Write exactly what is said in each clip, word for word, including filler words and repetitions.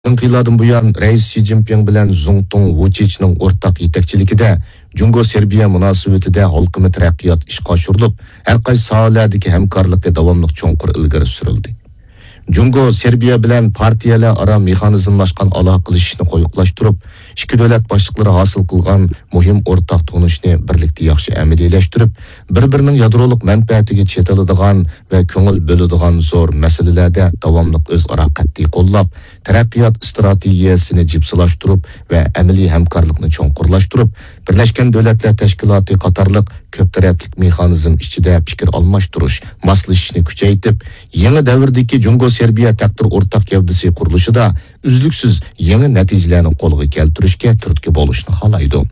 يېقىنقى يىللاردىن بۇيان، رەئىس شى جىنپىڭ بىلەن زۇڭتۇڭ ۋۇچىچنىڭ ئورتاق يېتەكچىلىكىدە جۇڭگو سېربىيە مۇناسىۋىتىدە ھالقىما تەرەققىيات ئىشقا ئاشۇرۇلۇپ، ھەر قايسى ساھەلەردىكى ھەمكارلىقى داۋاملىق چوڭقۇر ئىلگىرى سۈرۈلدى. جۇڭگو سېربىيە بىلەن پارتىيەلەر ئارا مېخانىزملاشقان ئالاقىلىشىشنى قويۇقلاشتۇرۇپ، ئىككى دۆلەت باشلىقلىرى ھاسىل قىلغان مۇھىم ئورتاق تونۇشنى بىرلىكتە ياخشى ئەمەلىيلەشتۈرۈپ، بىر-بىرىنىڭ يادرولۇق مەنپەئەتىگە چېتىلىدىغان ۋە كۆڭۈل بۆلىدىغان زور مەسىلىلەردە داۋاملىق ئۆزئارا قەتئىي قوللاپ، تەرەققىيات ئىستراتېگىيەسىنى جىپسىلاشتۇرۇپ ۋە ئەمەلىي ھەمكارلىقنى چوڭقۇرلاشتۇرۇپ، بىرلەشكەن دۆلەتلەر تەشكىلاتى قاتارلىق كۆپ تەرەپلىك مېخانىزم ئىچىدە پىكىر ئالماشتۇرۇش، ماسلىشىشنى كۈچەيتىپ، يېڭى دەۋردىكى جۇڭگو سېربىيە تەقدىر ئورتاق گەۋدىسى قۇرۇلۇشىدا ئۈزلۈكسىز يېڭى نەتىجىلەرنى قولغا كەلتۈرۈشكە تۈرتكە بولۇشنى خالايدۇ.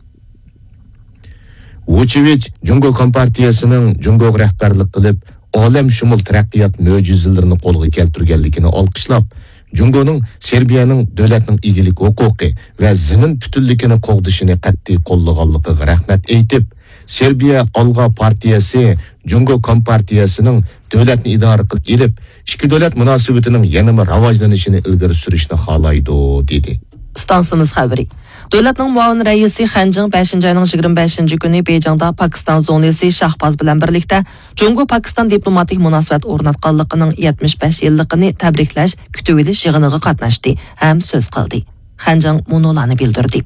ۋۇچىچ جۇڭگو كومپارتىيەسىنىڭ جۇڭگوغا رەھبەرلىك قىلىپ، ئالەمشۇمۇل تەرەققىيات مۆجىزىلىرىنى قولغا كەلتۈرگەنلىكىنى ئالقىشلاپ، جۇڭگونىڭ سېربىيەنىڭ دۆلەتنىڭ ئىگىلىك ھوقۇقى ۋە زېمىن پۈتۈنلۈكىنى قوغدىشىنى قەتئىي قوللىغانلىقىغا رەھمەت ئېيتىپ، سېربىيە ئالغا پارتىيەسى جۇڭگو كومپارتىيەسىنىڭ دۆلەتنى ئىدارە قىلىپ ئېلىپ، ئىككى دۆلەت مۇناسىۋىتىنىڭ يەنىمۇ راۋاجلىنىشىنى ئىلگىرى سۈرۈشنى خالايدۇ، دېدى. ئىستانسىمىز خەۋىرى. دۆلەتنىڭ مۇئاۋىن رەئىسى خەنجىڭ بەشىنچى ئاينىڭ يىگىرمە بەشىنچى كۈنى بېيجىڭدا پاكىستان زۇڭلىسى شاھباز بىلەن بىرلىكتە جۇڭگو پاكىستان دىپلوماتىك مۇناسىۋەت ئورناتقانلىقىنىڭ يەتمىش بەش يىللىقىنى تەبرىكلەش كۈتۈۋېلىش يىغىنىغا قاتناشتى ھەم سۆز قىلدى. خەنجىڭ مۇنۇلارنى بىلدۈردى.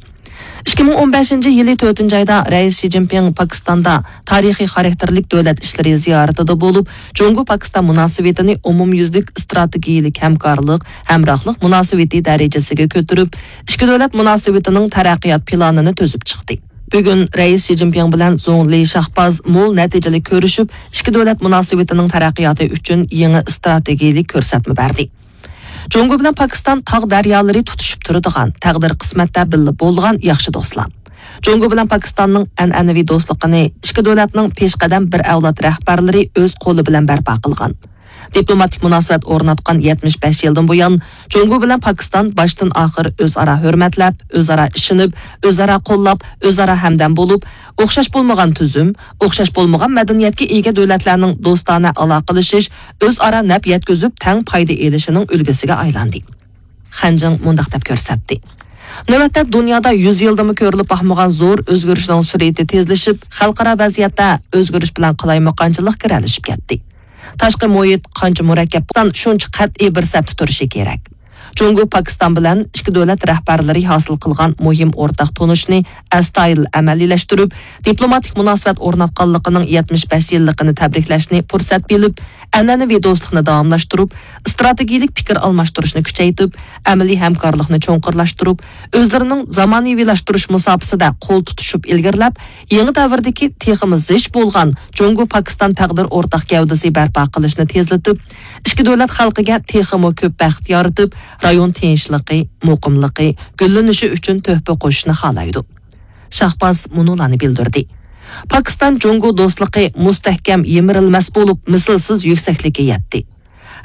ئىككى مىڭ ئون بەشىنچى يىلى تۆتىنچى ئايدا رەئىس شى جىنپىڭ پاكىستاندا تارىخىي خاراكتېرلىك دۆلەت ئىشلىرى زىيارىتىدە بولۇپ، جۇڭگو پاكىستان مۇناسىۋىتىنى ئومۇميۈزلۈك ئىستراتېگىيىلىك ھەمكارلىق، ھەمراھلىق مۇناسىۋىتى دەرىجىسىگە كۆتۈرۈپ، ئىككى دۆلەت مۇناسىۋىتىنىڭ تەرەققىيات پىلانىنى تۈزۈپ چىقتى. بۈگۈن رەئىس شى جىنپىڭ بىلەن زۇڭ لى شاھباز مول نەتىجىلىك كۆرۈشۈپ، ئىككى دۆلەت مۇناسىۋىتىنىڭ تەرەققىياتى ئۈچۈن يېڭى ئىستراتېگىيىلىك كۆرسەتمە بەردى. جۇڭگو بىلەن پاكىستان تاغ دەريالىرى تۇتىشىپ تۇرىدىغان، تەقدىر قىسمەتتە بىللە بولغان ياخشى دوستلار. جۇڭگو بىلەن پاكىستاننىڭ ئەنئەنىۋى دوستلۇقىنى ئىككى دۆلەتنىڭ پېشقەدەم بىر ئەۋلاد رەھبەرلىرى ئۆز قولى بىلەن بەرپا قىلغان. دىپلوماتىك مۇناسىۋەت ئورناتقان يەتمىش بەش يىلدىن بۇيان، جۇڭگو بىلەن پاكىستان باشتىن ئاخىر ئۆزئارا ھۆرمەتلەپ، ئۆزئارا ئىشىنىپ، ئۆزئارا قوللاپ، ئۆزئارا ھەمدەم بولۇپ، ئوخشاش بولمىغان تۈزۈم، ئوخشاش بولمىغان مەدەنىيەتكە ئىگە دۆلەتلەرنىڭ دوستانە ئالاقىلىشىش، ئۆزئارا نەپ يەتكۈزۈپ تەڭ پايدا ئېلىشىنىڭ ئۈلگىسىگە ئايلاندى. خەنجىڭ مۇنداق دەپ كۆرسەتتى. نۆۋەتتە دۇنيادا يۈز يىلدىمۇ كۆرۈلۈپ باقمىغان زور ئۆزگىرىشنىڭ سۈرئىتى تېزلىشىپ، خەلقئارا ۋەزىيەتتە ئۆزگىرىش بىلەن قالايمىقانچىلىق گىرەلىشىپ كەتتى. تاشقى مۇھىت قانچە مۇرەككەپ بولسا، شۇنچە قەتئىي بىر سەپتە تۇرۇشى كېرەك. جۇڭگو پاكىستان بىلەن ئىككى دۆلەت رەھبەرلىرى ھاسىل قىلغان مۇھىم ئورتاق تونۇشنى ئەستايىدىل ئەمەلىيلەشتۈرۈپ، دىپلوماتىك مۇناسىۋەت ئورناتقانلىقىنىڭ يەتمىش بەش يىللىقىنى تەبرىكلەشنى پۇرسەت بىلىپ، ئەنئەنىۋى دوستلۇقنى داۋاملاشتۇرۇپ، ئىستراتېگىيىلىك پىكىر ئالماشتۇرۇشنى كۈچەيتىپ، ئەمەلىي ھەمكارلىقنى چوڭقۇرلاشتۇرۇپ، ئۆزلىرىنىڭ زامانىۋىلاشتۇرۇش مۇساپىسىدە قول تۇتۇشۇپ ئىلگىرىلەپ، يېڭى دەۋردىكى تېخىمۇ زىچ بولغان جۇڭگو پاكىستان تەقدىر ئورتاق گەۋدىسى بەرپا قىلىشنى تېزلىتىپ، ئىككى دۆلەت خەلقىگە تېخىمۇ كۆپ بەخت يارىتىپ، رايون تىنچلىقى، مۇقىملىقى، گۈللىنىشى ئۈچۈن تۆھپە قوشۇشنى خالايدۇ. شاھباز مۇنۇلارنى بىلدۈردى. پاكىستان جۇڭگو دوستلۇقى مۇستەھكەم يىمىرىلمەس بولۇپ، مىسلىسىز يۈكسەكلىككە يەتتى.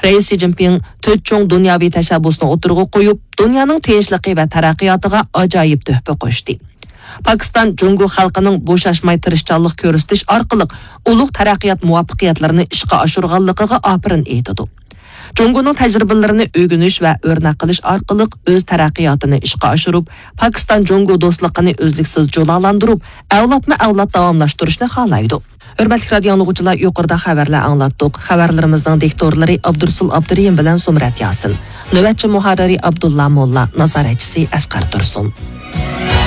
رەئىس شى جىنپىڭ تۆت چوڭ دۇنياۋى تەشەببۇسنى ئوتتۇرىغا قويۇپ، دۇنيانىڭ تىنچلىقى ۋە تەرەققىياتىغا ئاجايىپ تۆھپە قوشتى. پاكىستان جۇڭگو خەلقىنىڭ بوشاشماي تىرىشچانلىق كۆرسىتىش ئارقىلىق ئۇلۇغ تەرەققىيات مۇۋەپپەقىيەتلىرىنى ئىشقا ئاشۇرغانلىقىغا ئاپىرىن ئېيتىدۇ. جۇڭگونىڭ تەجرىبىلىرىنى ئۆگىنىش ۋە ئۆرنەك قىلىش ئارقىلىق ئۆز تەرەققىياتىنى ئىشقا ئاشۇرۇپ، پاكىستان جۇڭگو دوستلۇقىنى ئۈزلۈكسىز جۇلالاندۇرۇپ، ئەۋلادمۇ ئەۋلاد داۋاملاشتۇرۇشنى خالايدۇ. ھۆرمەتلىك رادىئو ئاڭلىغۇچىلار، يۇقىرىدا خەۋەرلەر ئاڭلاتتۇق. خەۋەرلىرىمىزنىڭ دىكتورلىرى ئابدۇرسۇل ئابدۇرېھىم بىلەن زۇمرەت ياسىن. نۆۋەتچى مۇھەررىرى ئابدۇللا موللا، نازارەتچىسى ئەسقەر تۇرسۇن.